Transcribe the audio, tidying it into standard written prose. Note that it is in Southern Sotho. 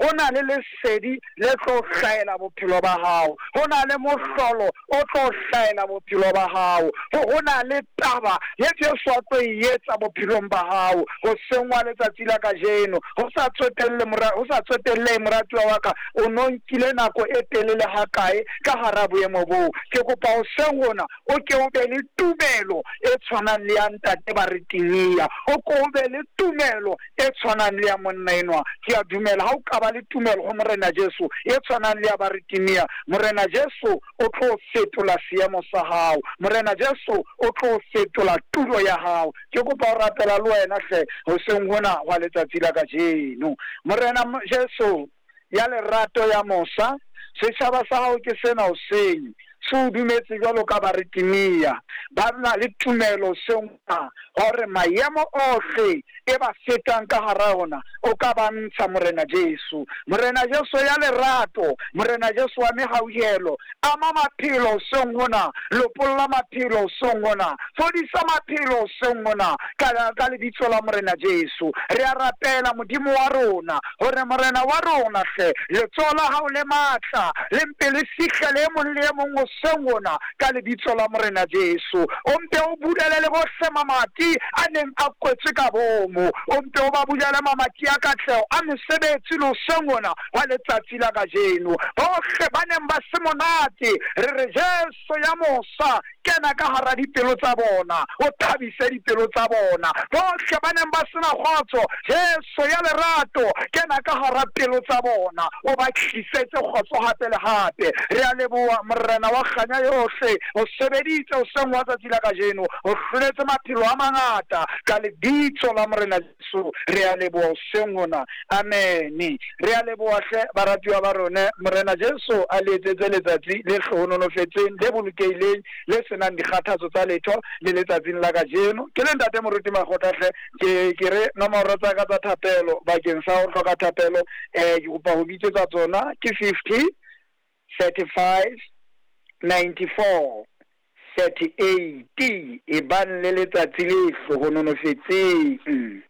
Ho na le lesedi le tlo hlahela bophelo ba hao. Ho na le mohlolo o tlo hlahela bophelo ba hao. Ho na le taba ye Jesu a tlo e etsa bophelong ba hao hoseng wa letsatsi la kajeno. Ho sa tsotelle ho sa tsotellehe moratuwa wa ka, o no nkile nako e telele hakae ka hara boemo boo. Ke kopa hoseng hona o ke o be le tumelo e tshwanang le ya ntate Baretimia. O ko o be le tumelo e tshwanang le ya monna enwa. Ke a dumela ha o ka ba le tumelo ho Morena Jesu e tshwanang le ya Baretimia, Morena Jesu o tlo fetola seemo sa hao. Morena Jesu o tlo fetola tulo ya hao. Ke kopa ho rapela le wena hle hoseng hona hwa letsatsi la kajeno. Morena Jesu ya lerato ya mosa, setjhaba sa hao ke sena hoseng, se o dumetse jwalo ka Baretimia. Ba na le tumelo hoseng hona hore maemo ohle e ba fetang ka hara ona o ka ba ntsha, Morena Jesu. Morena Jesu ya lerato, Morena Jesu wa mehauhelo, ama maphelo hoseng hona, lopolla maphelo hoseng hona, fodisa maphelo hoseng hona, ka, ka lebitso la Morena Jesu. Re a rapela, Modimo wa rona, hore Morena wa rona hle, letsoho la hao le matla le mpe le fihlele e mong le e mong hoseng hona, ka lebitso la Morena Jesu. O mpe o bulele le bohle mamati a neng a kwetswe ka boomo. O mpe o ba bulele mamati a katleho a mesebetsi le hoseng hona hwa letsatsi la kajeno. Bohle ba neng ba se monate, re re, Jesu ya mosa, kena ka hara dipelo tsa bona, o thabise dipelo tsa bona. Bohle ba neng ba se na kgotso, Jesu ya lerato, kena ka hara pelo tsa bona, o ba tlisetse kgotso hape le hape. Re a leboha, Morena wa kganya yohle, o sebeditse hoseng hwa tsatsi la kajeno, o hloletse maphelo a mangata ka lebitso la Morena Jesu. Re a leboha hoseng hona. Amene. Re a leboha hle, baratuwa ba rona. Morena Jesu a le etsetse letsatsi le hlohonolofetseng, le bolokehileng, le se nang dikgathatso tsa letho le letsatsing la kajeno. Ke le Ntate Moruti Makgotla hle, ke, ke re nomoro tsa ka tsa thapelo bakeng sa ho hloka thapelo, eh, ke kopa ho bitsetsa tsona ke 50 35 94 38. Ebang le letsatsi le hlohonolofetseng.